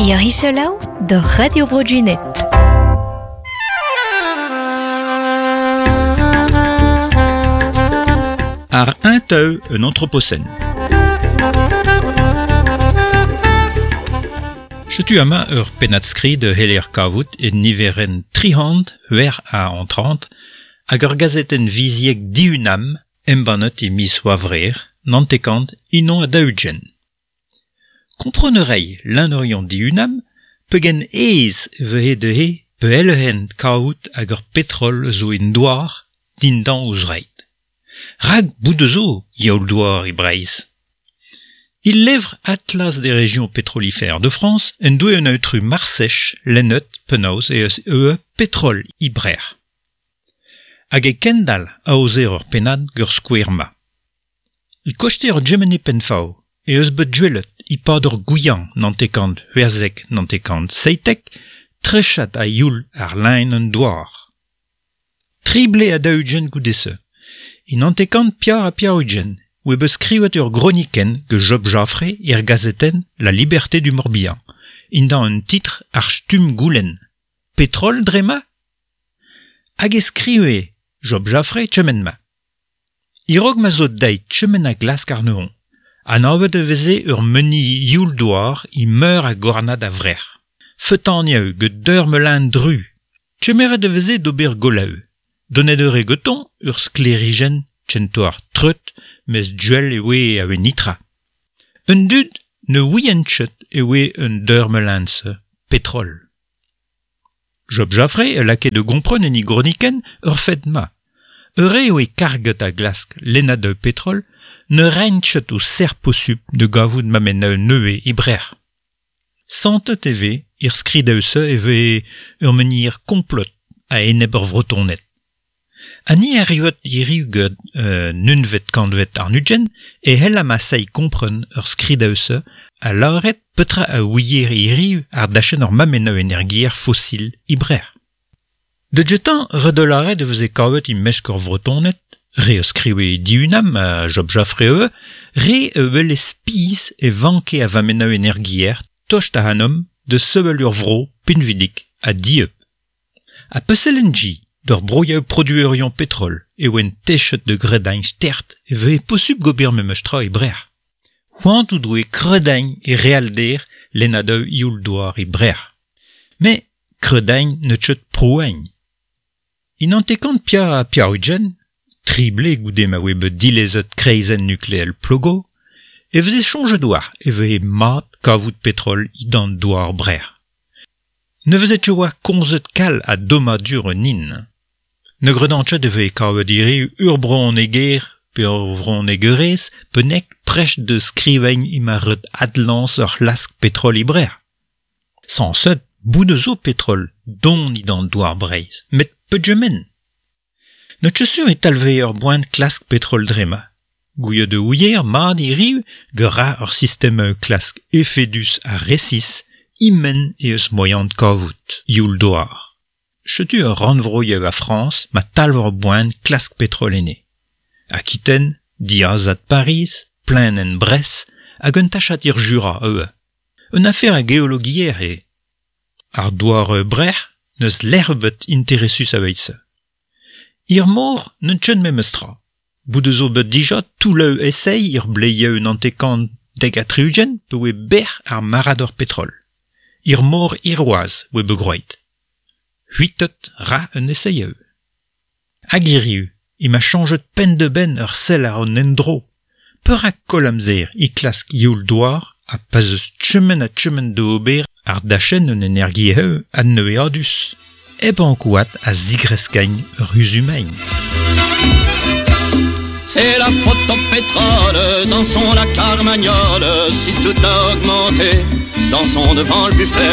Ur ichelaou d'ur Radio Bro Junet. Ar un teu un anthropocène. Setu amañ ur pennad-skrid heller kavout e niverenn trihant c'hwec'h ha antrant hag ur gazetenn viziek Dihunam embannet e miz C'hwavrer, nantekant unan ha daou-ugent. Kompren a ray lennerion Dihunam pegen aes e vehe dezhe pe-elhen kavout hag ur petrol zo en douar dindan o zreid. Rak bout zo youl-douar e Breizh. Il levr Atlas des régions pétrolifères de France en doe un aotrou Marsech lennet penaos eh eus eo petrol e Brec'h. Hag e kendal aozer ur pennad gant skouer-ma. E koste ur Gemene Penfaw eh eus bet gwelet e-pad ur gouiañ nantekant c'hwezek nantekant 17 trechat a-youl àr lein an douar. Tri blez ha daou-ugent goude-se. E nantekant piar ha piar-ugent oe bet skrivet ur gronikenn gant Job Jaffré er gazetenn La Liberté du Morbihan, indan un titr ar stumm goulenn Petrol dre-ma? Hag e skrive Job Jaffré kement-ma. E-raok ma zo deit kement a glask àrnezhoñ, anavet e veze ur meni youl-douar e meur a gornad a-vrec'h. Feutaniañ gant deur melein dru. Kemeret e veze d'ober golaoù. Donet eure gantañ ur sklêrijenn kentoc'h treut mes duel e oe a oe nitra. Un dud ne ouient ket e oe un deur melein-se petrol. Job Jaffré a lakae da gompren en e gronikenn ur fed-ma. Ur re oe karget a glask lennadoù petrol ne raent ket o serr posupl da gavout mammennoù nevez e Brec'h. Santet e vez er skridoù-se e vez ur menhir komplot a-enep ar Vretoned. Ha ni erruet hiriv gant un unvet kantved àrn-ugent e c'hell amaseiñ kompren ur skridoù-se ha lâret petra a ouier hiriv àr dachenn ur mammennoù energiezh fosil e Brec'h. Da gentañ ret eo lâret e veze kavet e-mesk ar Vretoned, re a skrive Dihunam ha Job Jaffré ivez, re a wele spis e vanke a vammennoù energiezh tost ac'hanomp da sevel ur vro pinvidik ha dieub. Ha peselenn-gi d'ur broioù produerion petrol e oant techet da gredañ stert e vehe posupl gober memes tra e Brec'h. C'hoant o doe kredañ e realder lennadoù youl-douar e Brec'h. Met kredañ n'eus ket prouañ. E nantekant piv ha piv-ugent, tri blez goude ma oe bet dilezet kreizenn nukleel Plogo, e veze soñjet war e vehe mat kavout petrol dindan douar Brec'h. Ne veze ket oa komzet kalz a dommadur un hin. Ne gredan ket e vehe kavet hiriv ur brezhoneger pe ur vrezhonegerez bennak prest da skrivañ emañ ret adlañs ur c'hlask petrol e Brec'h. Sañset, bout zo petrol don dindan douar Breizh, met peogement. N'eo ket sur e talvez ur boan klask petrol dre-mañ. Gouiet e ouier mat hiriv gra ur sistem klask efedus ha resis e-men eh eus moaian kavout youl-douar. Setu ur rannvroioù a Frañs ma talv ur boan klask petrol enne. Aquitaine, diazad Pariz, plaenenn Brest hag un tachad er Jura ivez. Un afer a geologiezh eo. Ar douar Brec'h n'eus lec'h ebet interesus aveit-se. Er mor n'eus ket memes tra. Bout zo bet dija toullañ esaeiñ er bleioù nantekant dek ha tri-ugent pa oe bec'h ar marc'had petrol. Er mor Hirwazh oe bet groet. C'hwitet ra un esaeoù. Hag hiriv emañ chañjet penn-da-benn ur sell àr an endro. Perak koll amzer e klask youl-douar ha pa 'z eus kement ha kement da ober àr dachenn un energiezh adnevezadus hep ankouaat a zigreskañ ur c'huzul-maen. C'est la faute au pétrole, dansons la carmagnole, si tout a augmenté, dansons devant le buffet.